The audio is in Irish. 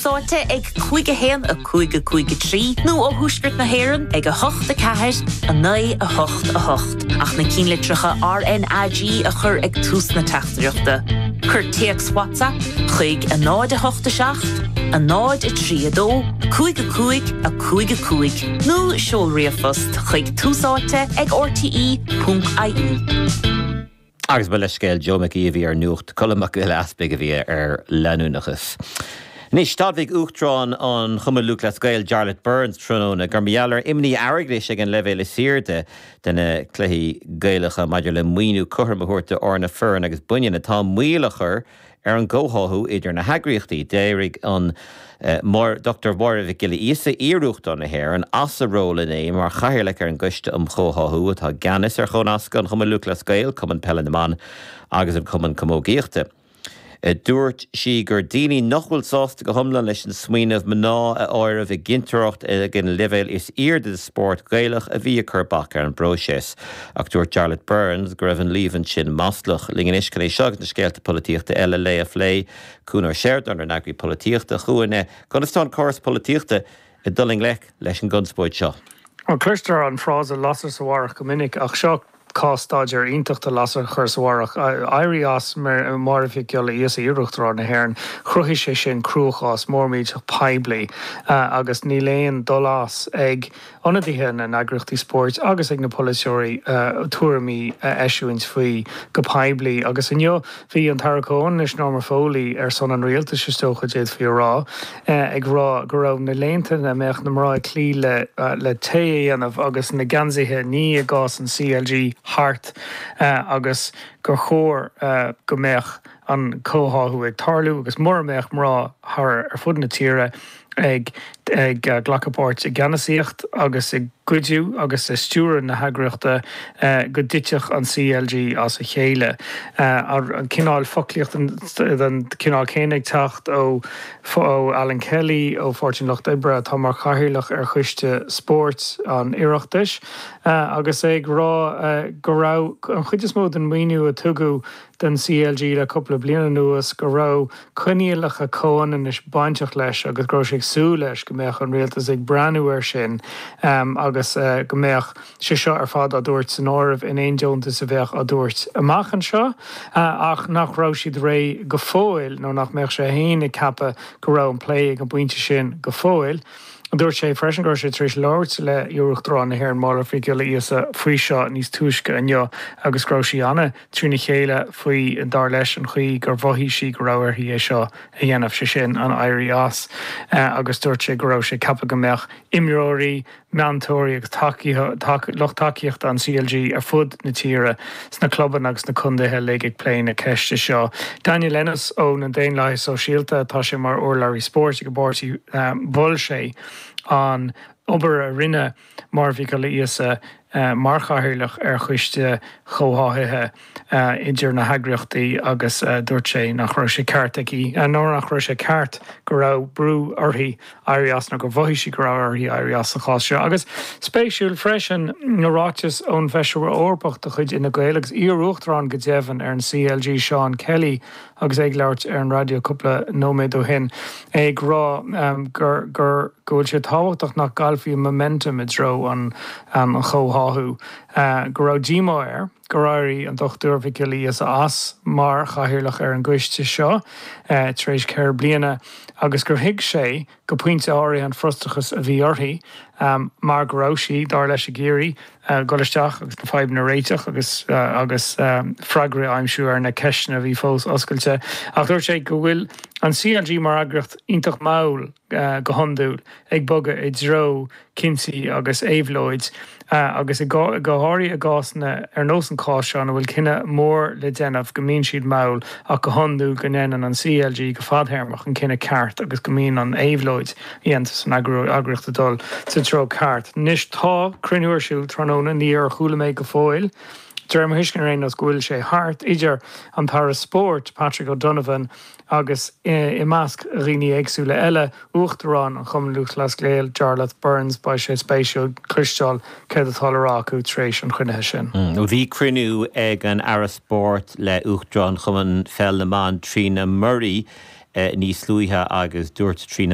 Áite ag 5 1 5 5 3 nó ó Thuaisceart na hÉireann ag 8 4 9 8 8 ach na cinnlitreacha RnaG a chur ag tús na teachtaireachta. Cuir téacs WhatsApp chuig 0 8 7 0 3 2 5 5 5 5 nó seol ríomhphost chuig túsáite ag rte.ie. Agus mo leithscéal, Joe Mac Aoidh a bhí ar Nuacht, Colm Mac Giolla Easpaig a bhí ar Leanúnachas. Anois, d'admhaigh Uachtarán an Chumainn Lúthchleas Gael, Jarlath Burns, tráthnóna gur mar gheall ar imní airgeadais ag an leibhéal is airde de na cluichí Gaelacha maidir le maoiniú cothrom a thabhairt d'fhoirne fireann agus baineann atá moill á chur ar an gcomhtháthú idir na heagraíochtaí. D'éirigh an Dr Máire Mhic Giolla Íosa, iar-Uachtarán na hÉireann, as a ról inné mar chathaoirleach ar an gCoiste um Chomhtháthú atá i gceannas ar chónascadh an Chumainn Lúthchleas Gael, Cumann Peile na mBan agus an Cumann Camógaíochta. Dúirt sí gur daoine nach bhfuil sásta go hiomlán leis an smaoineamh mná a áireamh i gcinnteoireacht ag an leibhéal is airde de spórt Gaelach a bhí ag cur bac ar an bpróiseas. Ach dúirt Jarlath Burns go raibh an líomhain sin maslach. Linn anois chun é seo agus na scéalta polaitíochta eile a phlé, Cuan Ó Seireadáin, ár n-eagraí polaitíochta. A Chuain, conas tá an córas polaitíochta ag dul i ngleic leis an gconspóid seo? Bhuel, cloistear an frása 'lasair sa bharrach' go minic, ach seo cás-staidéar iontach de lasair a chur sa bharrach. Éirí as Máire Mhic Giolla Íosa, iarUachtarán na hÉireann, chruthaigh sé sin cruachás mór millteach poiblí agus níl aon dul as ag ionadaithe na n-eagraíochtaí spóirt agus ag na polaiteoirí tuairimí a eisiúint faoi go poiblí. Agus inniu bhí an tAire Comhionannais Norma Foley, ar son an rialtais is dócha d'fhéadfaí a rá, ag rá go raibh na laethanta ina mbeadh na mná ag cloí le le tae a dhéanamh agus na geansaithe a ní i gcás an CLG thart agus gur chóir go mbeadh an comhtháthú ag tarlú agus mura mbeadh mná thar ar fud na tíre ag ag glacadh páirt i gceannasaíocht agus i gcuidiú agus i stiúradh na heagraíochta go dtitfeadh an CLG as a chéile. An cineál foclaíocht den chineál céanna ag teacht ó ó Alan Kelly ó Pháirtí an Lucht Oibre atá mar chathaoirleach ar Choiste Spóirt an Oireachtais agus é ag rá go raibh an chuid is mó den mhaoiniú a tugadh don CLG le cúpla bliain anuas go raibh coinníollacha comhionannais bainteach leis agus go raibh sé ag súil leis go mbeadh an rialtas ag breathnú air sin agus go mbeadh sé seo ar fad á dtabhairt san áireamh in aon deontas a bheadh á dtabhairt amach anseo ach nach raibh siad réidh go fóill nó nach mbeadh sé féin ag ceapadh go raibh an plé ag an bpointe sin go fóill. Dúirt sé freisin go raibh sé tar éis labhairt le iarUachtarán na hÉireann Máire Mhic Giolla Íosa faoi seo níos túisce inniu agus go raibh sí ana trína chéile faoi, dar leis, an chaoi gur mhothaigh sí go raibh uirthi é seo a dhéanamh, sé sin, an éirí as, agus dúirt sé go raibh sé ag ceapadh go mbeadh imreoirí, meantóirí agus lucht tacaíochta an CLG ar fud na tíre, sna clubanna agus sna contaetha uilig ag plé na ceiste seo. Daniel Ennis ó na Daonlathaithe Sóisialta, tá sé mar urlabhraí spóirt ag an bpáirtí, mhol sé an obair a rinne Máire Mhic Giolla Íosa mar chathaoirleach ar choiste chomhtháthaithe idir na heagraíochtaí agus dúirt sé nach raibh sé ceart aici, nó nach raibh sé ceart go raibh brú uirthi éirí as nó gur mhothaigh sí go raibh uirthi éirí as sa chás seo. Agus spéisiúil freisin na ráitis ón bhFeisire Eorpach de chuid Fhine Gael agus iar-uachtarán go deimhin ar an CLG, Seán Kelly, agus é ag labhairt ar an raidió cúpla nóiméad ó shin, é ag rá gur gur go bhfuil sé tábhachtach nach gcaillfí an momentum i dtreo an chomhtháthú, go raibh díomá air gur éirigh an Dr Mhic Giolla Íosa as mar chathaoirleach ar an gcoiste seo tar éis ceithre bliana agus gur thuig sé go pointe áirithe an frustrachas a bhí uirthi mar go raibh sí, dar leis, ag iarraidh dul isteach agus na fadhbanna a réiteach agus agus freagraí a aimsiú ar na ceisteanna a bhí fós oscailte. Ach dúirt sé go bhfuil an CLG mar eagraíocht iontach mall go hiondúil ag bogadh i dtreo cinntí agus éabhlóid agus go háirithe i gcásanna ar nós an cás seo ina bhfuil cinneadh mór le déanamh go mbíonn siad mall ach go hiondúil go ndéanann an CLG go fadthéarmach an cinneadh ceart agus go mbíonn an éabhlóid a dhéantar san eagraíocht ag dul sa treo ceart. Anois tá cruinniú ar siúl tráthnóna, níor chuala mé go fóill, de réir mo thuisceana ar aon nós, go bhfuil sé thart, idir an tAire Spóirt, Patrick O'Donovan agus i measc dhaoine éagsúla eile, Uachtarán an Chumainn Lúthchleas Gael, Jarlath Burns, beidh sé spéisiúil cloisteáil céard atá le rá acu tar éis an chruinnithe sin. Bhí cruinniú ag an Aire Spóirt le Uachtarán Chumann Pheil na mBan, Trina Murray. níos luaithe agus dúirt trína.